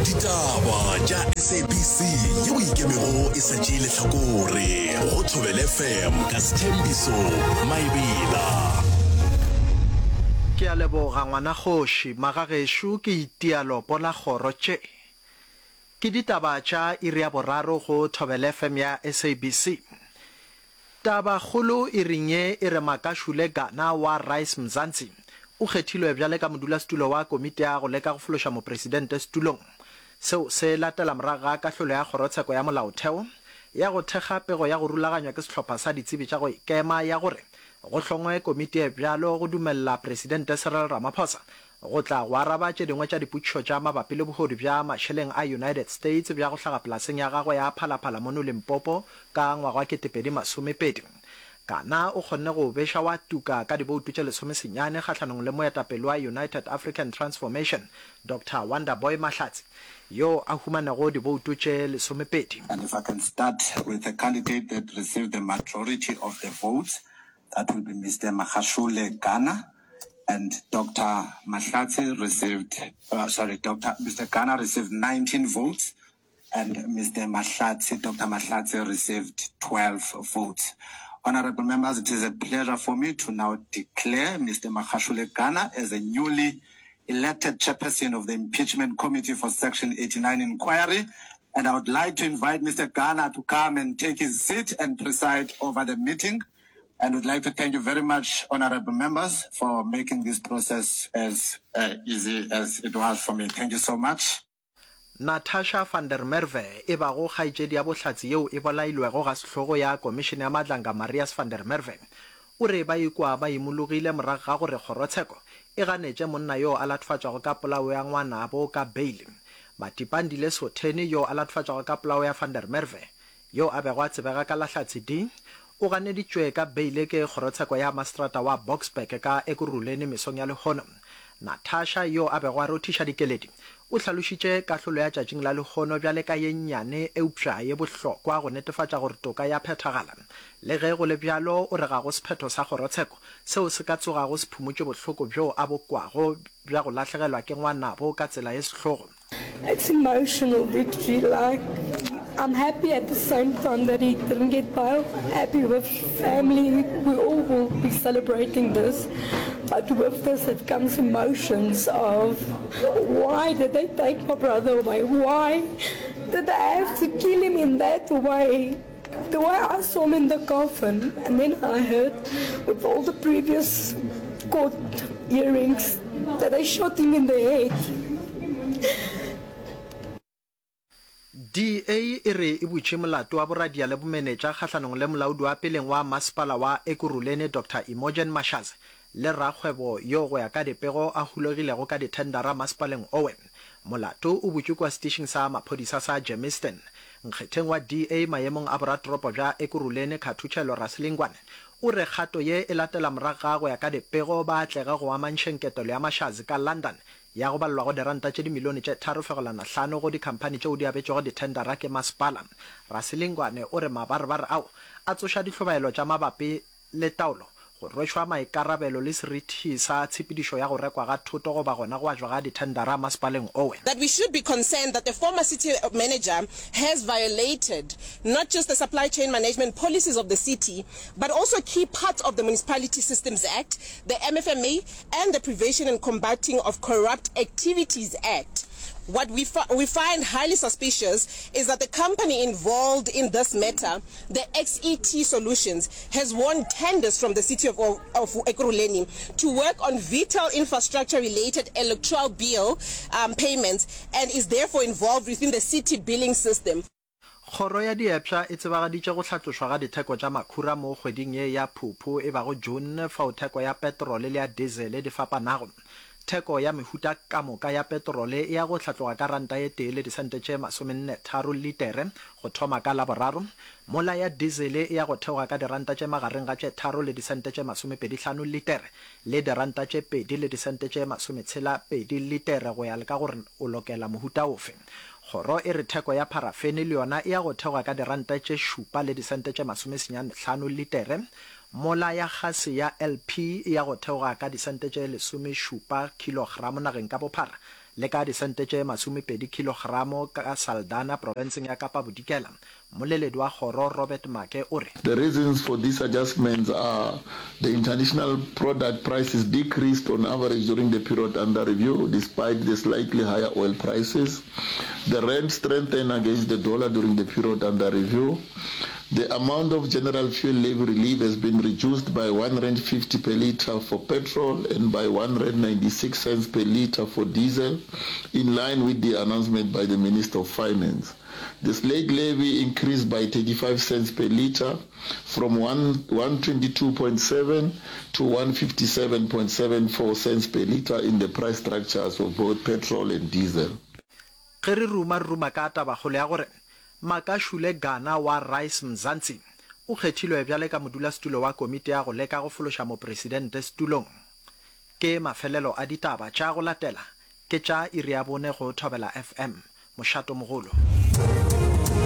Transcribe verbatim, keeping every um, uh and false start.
Ditaba tša S A B C yeo ikemego e sa tšee lehlakore go Thobela F M ka Sethembiso Maebela. Ke a leboga ngwanakgoši, magagešo ke itia lopo la kgoro tše. Ke ditaba tša iri ya boraro go Thobela F M ya S A B C. Tabakgolo iring ye e re Makashule Gana wa Rise Mzansi o kgethilwe bjale ka modulasetulo wa komiti ya go leka go fološa mopresidente setulong. Seo se latela morago ga kahlolo ya kgorotsheko ya molaotheo ya go thekga pego ya go rulaganywa ke sehlopha sa ditsebi tša go ikema ya gore go hlongwe komiti e bjalo go dumelela Presidente Cyril Ramaphosa go tla go araba tše dingwe tša dipotšišo tša mabapi le bohodu bja mašeleng a United States bja go hlaga polaseng ya gagwe ya Phalaphala mono Limpopo ka ngwaga wa ketepedi masomepedi. Gana o kgonne go beša wa tuka ka diboutu tše lesomesenyane kgahlanong le moetapele wa United African Transformation Doctor Wonderboy Mahlatsi yo a humanego diboutu tše lesomepedi. And if I can start with the candidate that received the majority of the votes, that will be Mister Makashule Gana. And Doctor Mahlatsi received, uh, sorry, Doctor Mister Gana received nineteen votes, and Mister Mahlatsi, Doctor Mahlatsi received twelve votes. Honorable members, it is a pleasure for me to now declare Mister Makashule Gana as a newly elected chairperson of the Impeachment Committee for Section eighty-nine Inquiry. And I would like to invite Mister Gana to come and take his seat and preside over the meeting. And would like to thank you very much, honorable members, for making this process as uh, easy as it was for me. Thank you so much. Natasha van der Merwe e bago kgaetšedi ya bohlatse yeo e bolailwego ga sehlogo ya komišene ya Madlanga Marius van der Merwe o re ba ikwa ba imologile morago ga gore kgorotsheko e ganetše monna yo a latofatšwago ka polao ya ngwanabo ka beile. Matipandile Sotheni yo a latofatšwago ka polao ya van der Merwe yo a bego a tsebega ka la Hlatse D o ganeditšwe ka beile ke kgorotsheko ya maseterata wa Boksburg ka Ekurhuleni mesong ya lehono. Natasha yo a bego a rothiša dikeledi o hlalošitše kahlolo ya tšatšing la lehono bjale ka ye nnyane eupša ye bohlokwa go netefatša gore toka ya phethagala. Le ge go le bjalo o re ga go sephetho sa kgorotsheko seo se ka tsogago se phumotše bohloko bjo a bo kwago bja go lahlegelwa ke ngwanabo ka tsela ye sehlogo. It's emotional victory. Like, I'm happy at the same time that he didn't get bail. Happy with family. We all will be celebrating this. But with this, it comes emotions of why did they take my brother away? Why did they have to kill him in that way? The way I saw him in the coffin, and then I heard with all the previous court hearings that they shot him in the head. D A e re e butše molato wa boradia le bomenetša kgahlanong le molaodi wa peleng wa masepala wa Ekurhuleni Doctor Imogen Mashazi le rakgwebo yo go ya ka dipego a hulegilego ka dithendara masepaleng owe. Molato o butšwe kua setišing sa maphodisa sa Germiston. Nkgetheng wa D A maemong a boratoropo bja Ekurhuleni Khathutšhelo Rasilingwane o re kgato ye e latela morago ga go ya ka dipego ba atlege go amantšheng ketelo ya Mashazi ka London ya go balelwa go diranta tše dimilione tše tharo fegelwana hlano go dikhamphani tšeo di abetšwego dithendara ke masepala. Rasilingwane o re mabarebare ao a tsoša dihlobaelo tša mabapi le taolo, go rwešwa maikarabelo le seriti sa tshepedišo ya go rekwa ga thoto goba gona go abjwa ga dithendara masepaleng owe. That we should be concerned that the former city manager has violated not just the supply chain management policies of the city, but also key parts of the Municipality Systems Act, the M F M A, and the Prevention and Combating of Corrupt Activities Act. What we, fi- we find highly suspicious is that the company involved in this matter, the X E T Solutions, has won tenders from the city of, of, of Ekurhuleni to work on vital infrastructure-related electoral bill um, payments and is therefore involved within the city billing system. Kgoro ya Diepša e tsebagaditše go hlatlošwa ga ditheko tša makhura mo kgweding ye ya Phuphu e bago June fao theko ya petrole le ya dizele di fapanago. Theko ya mehuta ka moka ya petrole e ya go hlatloga ka ranta ye tee le disente tše masomenne tharo litere go thoma ka Laboraro, mola ya dizele e ya go theoga ka diranta tše magareng ga tše tharo le disente tše masomepedi hlano litere le diranta tše pedi le disente tše masometshela pedi litere go ya le ka gore o lokela mohuta ofe. Kgoro e re theko ya pharafene le yona e ya go theoga ka diranta tše šupa le disente tše masomesenyane hlano litere, mola ya gase ya L P e ya go theoga ka disente tše lesomešupa kilogramo nageng ka bophara le ka disente tše masomepedi khilogramo ka Saldanha profenseng ya Kapa Bodikela. Mmoleledi wa kgoro Robert Maake o re. The reasons for these adjustments are the international product prices decreased on average during the period under review despite the slightly higher oil prices. The rand strengthened against the dollar during the period under review. The amount of general fuel levy relief has been reduced by one rand fifty per litre for petrol and by one rand ninety-six cents per litre for diesel, in line with the announcement by the Minister of Finance. The slate levy increased by thirty-five cents per litre from one one twenty-two point seven to one fifty-seven point seven four cents per litre in the price structures of both petrol and diesel. Ge re ruma re ruma ka tabakgolo ya gore Makashule Gana wa Rise Mzansi o kgethilwe bjale ka modulasetulo wa komiti ya go leka go fološa mopresidente setulong. Ke mafelelo a ditaba tša go latela ke tša iri ya bone go Thobela F M. Mošatomogolo.